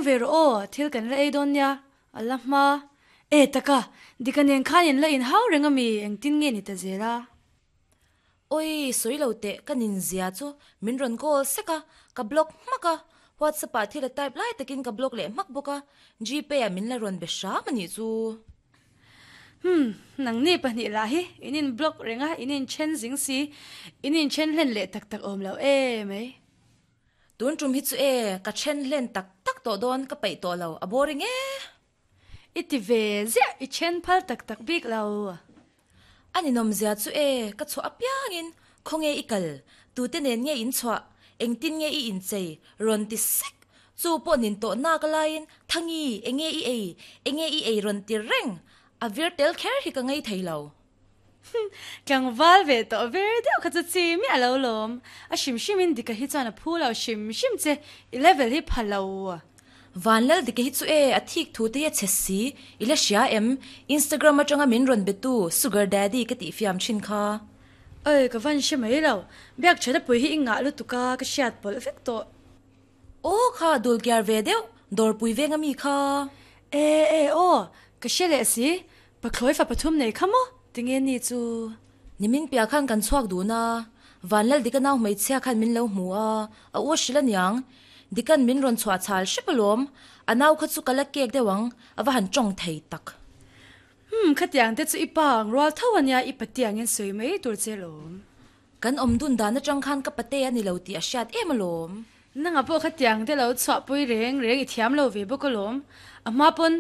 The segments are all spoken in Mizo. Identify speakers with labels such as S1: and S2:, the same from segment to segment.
S1: leng ve rawh aw, thil kan la ei dawn nia, a la hma. E taka, Dika nen khan in la inhau reng a mi, engtin nge ni ta zel a?
S2: Oi, sawi lo teh, ka nin zia chu min rawn call sek a, ka block hmak a, WhatsApp ah thil a type lai takin ka block leh hmak bawk a, Gpay ah min la rawn be hram a nih chu.
S1: Humm, nangni pahnih lah hi in in block reng a, in inthen zing si, in inthen hlen leh tak tak awm lo e mai.
S2: Tun tum hi chu e, ka then hlen tak tak tawh dawn, ka peih tawh lo, a boring e.
S1: I ti ve ziah, i then phal tak tak bik lo.
S2: A ninawmzia chu e, ka chhuah apiangin, Khawnge i kal? Tute nen nge in chhuah? Engtin nge i inchei? Rawn ti sek. Chu pawh nin tawh nak laiin, Thangi, enge i ei? Enge i ei rawn ti reng? A vir tel kher hi ka ngei thei lo.
S1: Tlangval ve tawh vir deuh kha chu chi miah lo lawm. A hrim hrimin Dika hi chuan a phu lo hrim hrim che, i level hi pha lo.
S2: Vanlal Dika hi chu e, a thik thu te hi a chhe si, i la hria em? Instagram atanga min rawn be tu Sugar Daddy ka tih fiam thin kha.
S1: Oi, ka van hre mai lo. Biak that a pui hi i ngah lutuk a, ka hriat pawlh vek tawh.
S2: Aw kha dul kiar ve deuh, dawrpui veng ami kha.
S1: E e aw, ka hre leh si, Pathlawi fa pathum nei kha maw? Tinge ni chu?
S2: Nimin piah khan kan chhuak dun a, Vanlal Dika nau hmeichhia khan min lo hmu a, a u a hrilh aniang. Dika'n min rawn chhuah chhal hrep alawm, a nau kha chu ka la kek deuh ang, a va han tawng thei tak.
S1: Umm, khatiang te chu i pa ang rual tho ania, i patiangin sawi mai tur che alawm.
S2: Kan awm dun dan atang khan ka pate a ni lo tih a hriat em alawm.
S1: Nanga pawh khatiang te lo chhuahpui reng reng i thiam lo ve bawk alawm. A hma pawn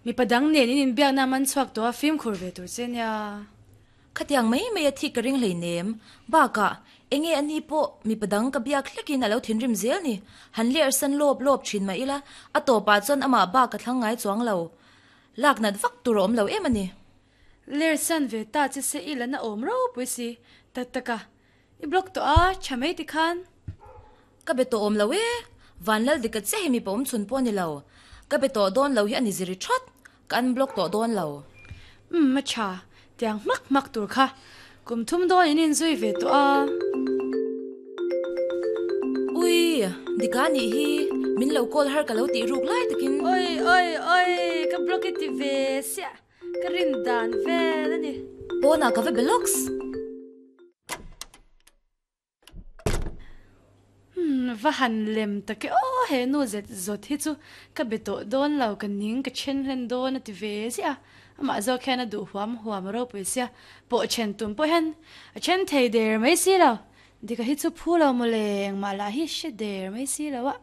S1: Mipa dang nen in inbiakna man chhuak tawh a fimkhur ve tur che nia.
S2: Khatiang mai mai a thik ka ring hleinem. Bakah, enge a ni pawh mipa dang ka biak hlekin a lo thinrim zel ni. Han ler san lawp lawp thin mah ila, a tawpah chuan amah bak ka thlang ngai chuang lo. Lak nat vak tur a awm lo em a ni.
S1: Ler san ve ta che se i la na awm ropui si. Tak tak a, I block tawh a, tha mai ti khan.
S2: Ka be tawh awm lo e, Vanlal dika chiah hi mipa awm chhun pawh a ni lo. Ka be tawh dawn lo hi a ni ziri that, ka unblock tawh dawn lo.
S1: Umm a tha, tiang hmak hmak tur kha kum thum dawn in inzui ve tawh a.
S2: Ui, dika nih hi, min lo call har ka lo tih ruk lai takin.
S1: Oi oi oi, ka block i ti ve siah, ka rin dan vel a ni.
S2: Pawnah ka va be lawks.
S1: Umm va han lem tak e aw he nu zet zawt hi chu ka be tawh dawn lo ka ning ka then hlen dawn a ti ve ziah a, amah zawk hian a duh huam huam a ropui sia pawh then tum pawh hian a then thei der mai si lo, Dika hi chu phu lo mawle engmah lah hi hre der mai si lo a.